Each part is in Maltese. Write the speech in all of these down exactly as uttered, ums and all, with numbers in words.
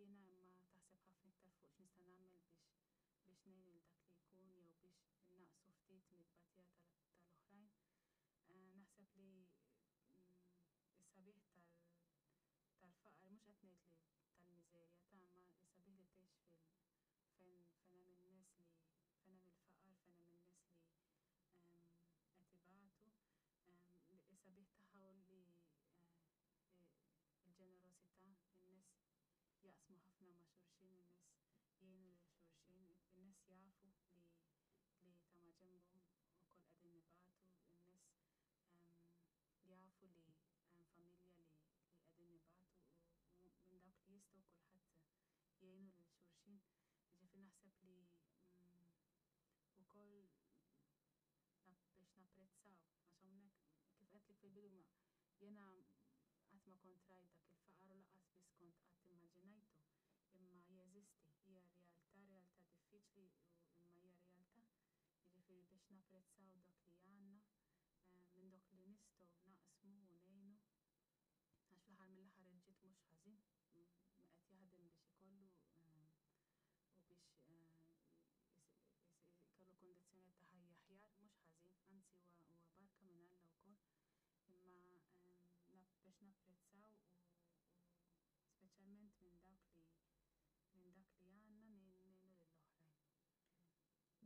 jiena, imma taħseb ħafna iktar fuq x'nista' nagħmel biex biex ngħin lil dak li jkun jew biex innaqsu ftit mit-tbatija tal-oħrajn. Eh, naħseb li mm, is-sabiħ tal-faqar, mhux qed ngħid li tal-miżerja ta' ma is-sabiħ li tgħix fil fejn fejn hemm in-nies li fejn hemm il-faqar, fejn hemm in-nies li qed ibatu, is-sabiħ tagħha li eh, il-ġenerosità, in-nies jaqsmu ħafna ma' xulxin, in-nies jgħinu lil xulxin, in-nies jafu li li ta' maġenbhom ukoll qegħdin ibatu, in-nies jafu li hemm familja li li qegħdin ibatu u minn dawk li jistgħu kulħadd jgħinu lil xulxin. Ġifieri naħseb li mm, ukoll biex napprezzaw, għax hawnhekk kif għedtlek fil-bidu ma jiena qatt ma kont rajt dak il-faqar u lanqas biss kont qatt immaġinajtu, imma jeżisti, hija realtà, realtà diffiċli imma hija realtà. Jiġifieri biex napprezzaw dak li għandna, eh, minn dak li nistgħu naqsmu u ngħinu. Għax fl-aħħar mill-aħħar il-ġid mhux ħażin, qed jaħdem biex ikollu eh, u biex eh, ikollu kondizzjoni ta' ħajja aħjar, mhux ħażin, anzi huwa barka minn Alla wkoll. Imma biex napprezzaw u speċjalment minn dak li minn dak li għandna ngħinu lill-oħrajn.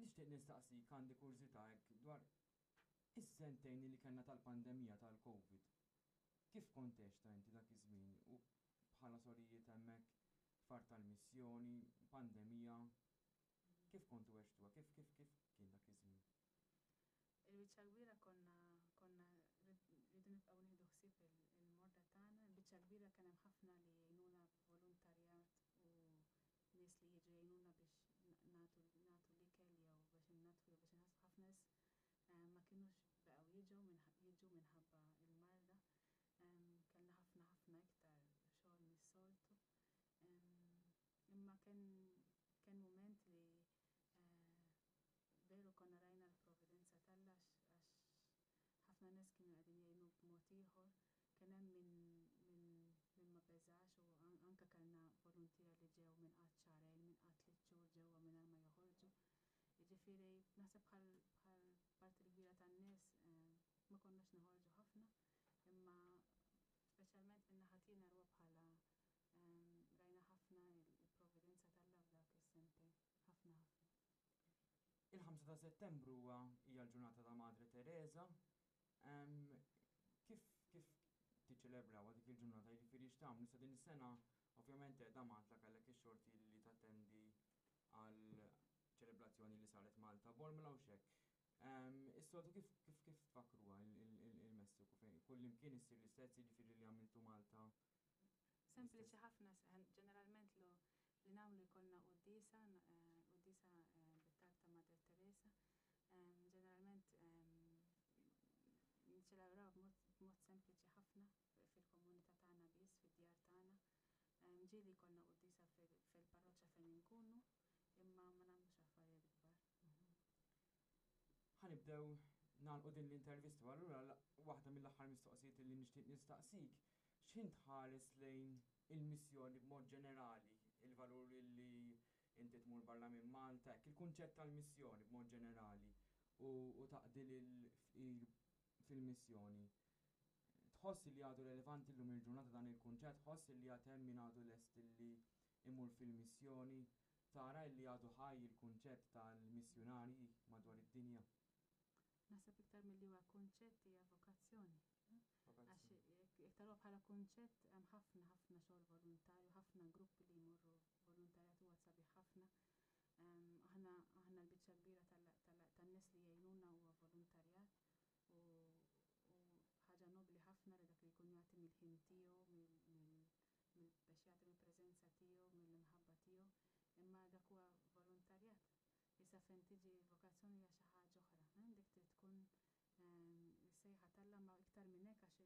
Nixtieq nistaqsik, għandi kurżità hekk dwar is-sentejn li kellna tal-pandemija tal-Covid. Kif kont ta' inti dak iż-żmien u bħala sorijiet hemmhekk far tal-missjoni, pandemija, kif kontu għextuha, kif kif kif kien dak iż-żmien? Il-biċċa kbira konna konna rridu nibqgħu nieħdu ħsieb il-morda tagħna, il-biċċa kbira kien hemm ħafna li jgħinuna volontarjat u nies li jiġu jgħinuna biex nagħtu nagħtu l-ikel jew biex innadfu jew biex inħassu. Ħafna nies eh, ma kinux baqgħu jiġu jiġu minħabba il-marda. Kellna ħafna ħafna iktar xogħol mis-soltu. Imma kien kien moment li eh, veru konna rajna l-providenza t'Alla għax ħafna nies kienu qegħdin jgħinu b'mod ieħor. Kien hemm min min min ma beżax u anke kellna voluntiera li ġew minn qatt xahrejn, minn qatt tliet xhur ġewwa mingħajr ma joħorġu. Jiġifieri naħseb bħal bħal parti kbira tan-nies eh, ma konniex noħorġu ħafna, imma speċjalment minn naħa tiegħi narwa bħala eh, rajna ħafna il-providenza t'Alla f'dak is-sentejn, ħafna ħafna. Il-ħamsa ta' Settembru huwa hija l-ġurnata ta' Madre Teresa. Kif kif tiċċelebraw dik il-ġurnata, jiġifieri x'tagħmlu sa din is-sena? Ovvjament qiegħda Malta, kellek ix-xorti li tattendi għal ċelebrazzjoni li saret Malta Bormla u xek. Is-soltu kif kif kif tfakruha il-Messiku, fejn kull imkien issir l-istess, jiġifieri li għamiltu Malta? Sempliċi ħafna, ġeneralment lo li nagħmlu jkollna quddiesa, quddiesa bit-talb ta' Madre Teresa. Ġeneralment niċċelebraw b'mod sempliċi ħafna fil-komunità tagħna biss, fid-djar tagħna. Ġieli jkollna quddiesa fil-parroċċa fejn inkunu, imma ma nagħmlux affarijiet kbar. Ħa nibdew nagħlqu din l-intervista, allura waħda mill-aħħar mistoqsijiet li nixtieq nistaqsik, x'ħin tħares lejn il-missjoni b'mod ġenerali, il-valur li inti tmur barra minn Malta, hekk il-kunċett tal-missjoni b'mod ġenerali u, u taqdi lil fil-missjoni. Tħoss li għadu relevanti llum il-ġurnata dan il-kunċett, tħoss li għad hemm min għadu lest li imur fil-missjoni, tara li għadu ħaj il-kunċett tal-missjonarji madwar id-dinja? Naħseb iktar milli huwa kunċett hija vokazzjoni. Għax jekk taraw bħala kunċett hemm ħafna ħafna xogħol volontarju, ħafna gruppi li jmorru volontarjat, huwa sabiħ ħafna. Aħna aħna l-biċċa kbira tan-nies li jgħinuna huwa volontarjat u ħaġa nobli ħafna li dak li jkun jagħti mill-ħin tiegħu, biex jagħti mill-preżenza tiegħu, mill-imħabba tiegħu, imma dak huwa volontarjat. Issa fejn tiġi vokazzjoni hija xi ħaġa oħra, dik trid tkun sejħa t'Alla, ma iktar minn hekk għax